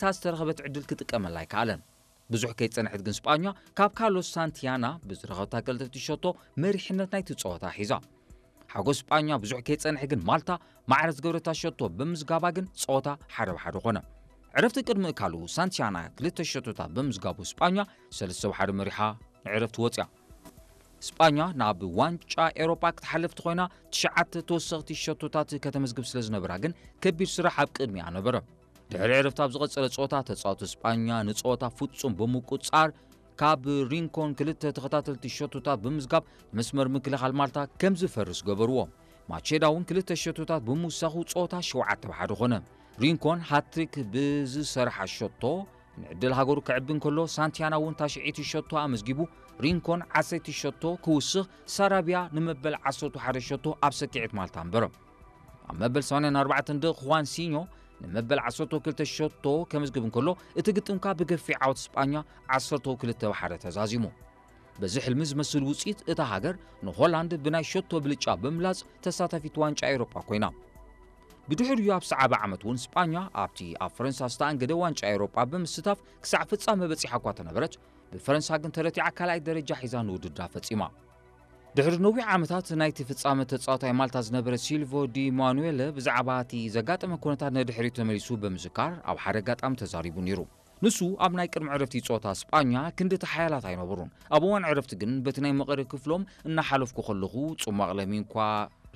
እታ ዝተረኸበት ዕድል ክጥቀመላ ኣይከኣለን። ብዙሕ ከይጸንሐት ግን ስጳኛ ካብ ካርሎስ ሳንቲያና ብዝረኸብታ ቀልጥፍቲ ሸቶ መሪሕነት ናይቲ ጸወታ ሒዛ። ሓጎስ ስጳኛ ብዙሕ ከይጸንሐ ግን ማልታ ማዕረ ዝገበረታ ሸቶ ብምዝጋባ ግን ጸወታ ሓደ ብሓደ ኾነ። ዕረፍቲ ቅድሚ እካሉ ሳንቲያና ክልተ ሸቶታት ብምዝጋቡ ስጳኛ ሰለስተ ብሓደ መሪሓ ንዕረፍቲ ወጽያ። ስጳኛ ናብ ዋንጫ ኤሮጳ ክትሓልፍ ተኾይና ትሽዓተ ተወሰኽቲ ሸቶታት ከተመዝግብ ስለ ዝነበራ ግን ከቢድ ስራሕ ኣብ ቅድሚኣ ነበረ። ድሕሪ ዕረፍቲ ኣብ ዝቐጸለ ጸወታ ተጻወቲ ስጳኛ ንጸወታ ፍጹም ብምቁጻር ካብ ሪንኮን ክልተ ተኸታተልቲ ሸቶታት ብምዝጋብ መስመር ምክልኻል ማልታ ከም ዝፈርስ ገበርዎ። ማቼዳ እውን ክልተ ሸቶታት ብምውሳኹ ጸወታ ሸውዓተ ብሓደ ኾነ። ሪንኮን ሃትሪክ ብዝሰርሓ ሸቶ ንዕድል ሃገሩ ክዕቢ እንከሎ ሳንቲያና እውን ታሽዒቲ ሸቶ ኣመዝጊቡ ሪንኮን ዓሰርተ ሸቶ ክውስኽ ሳራቢያ ንመበል ዓሰርተ ሓደ ሸቶ ኣብ ሰኪዔት ማልታ ኣንበረ። ኣብ መበል ሰማንያን ኣርባዕተን ደቂቕ ኹዋንሲኞ ንመበል ዓሰርተ ክልተ ሸቶ ከመዝግብ እንከሎ እቲ ግጥምካ ብገፊዕ ዓወት ስጳኛ ዓሰርተ ክልተ ብሓደ ተዛዚሙ። በዚ ሕልሚ ዝመስል ውፅኢት እታ ሃገር ንሆላንድ ብናይ ሸቶ ብልጫ ብምብላፅ ተሳታፊት ዋንጫ ኤውሮጳ ኮይና። ብድሕሪኡ ኣብ ሰዓበ ዓመት እውን ስጳኛ ኣብቲ ኣብ ፈረንሳ ዝተኣንገደ ዋንጫ ኤውሮጳ ብምስታፍ ክሳዕ ፍጻመ በጺሓ እኳ ተነበረት፣ ብፈረንሳ ግን ተረቲዓ ካልኣይ ደረጃ ሒዛ ንውድድራ ፈጺማ። ድሕሪ ነዊሕ ዓመታት ናይቲ ፍጻመ ተጻዋታይ ማልታ ዝነበረ ሲልቮ ዲ ማኑኤለ ብዛዕባ እቲ ዘጋጠመ ኩነታት ንድሕሪት ተመሊሱ ብምዝካር ኣብ ሓደ ኣጋጣሚ ተዛሪቡ ነይሩ። ንሱ ኣብ ናይ ቅድሚ ዕረፍቲ ጸወታ ስጳኛ ክንዲ ተሓያላት ኣይነበሩን። ኣብ እዋን ዕረፍቲ ግን በቲ ናይ መቐረ ክፍሎም እናሓለፍኩ ከለኹ ጽማቕ ለሚንኳ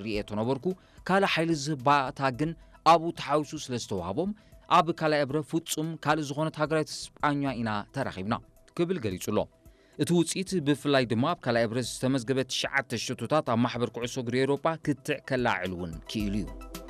ርእየ ተነበርኩ። ካልእ ሓይሊ ዝህብ ባእታ ግን ኣብኡ ተሓዊሱ ስለ ዝተዋህቦም ኣብ ካልኣይ እብረ ፍጹም ካልእ ዝኾነት ሃገራዊት ስጳኛ ኢና ተራኺብና ክብል ገሊጹ ኣሎ። እቲ ውጽኢት ብፍላይ ድማ ኣብ ካልኣይ እብረ ዝተመዝገበ ትሽዓተ ሸቶታት ኣብ ማሕበር ኩዕሶ እግሪ ኤውሮጳ ክትዕ ከለዓዕል እውን ክኢሉ እዩ።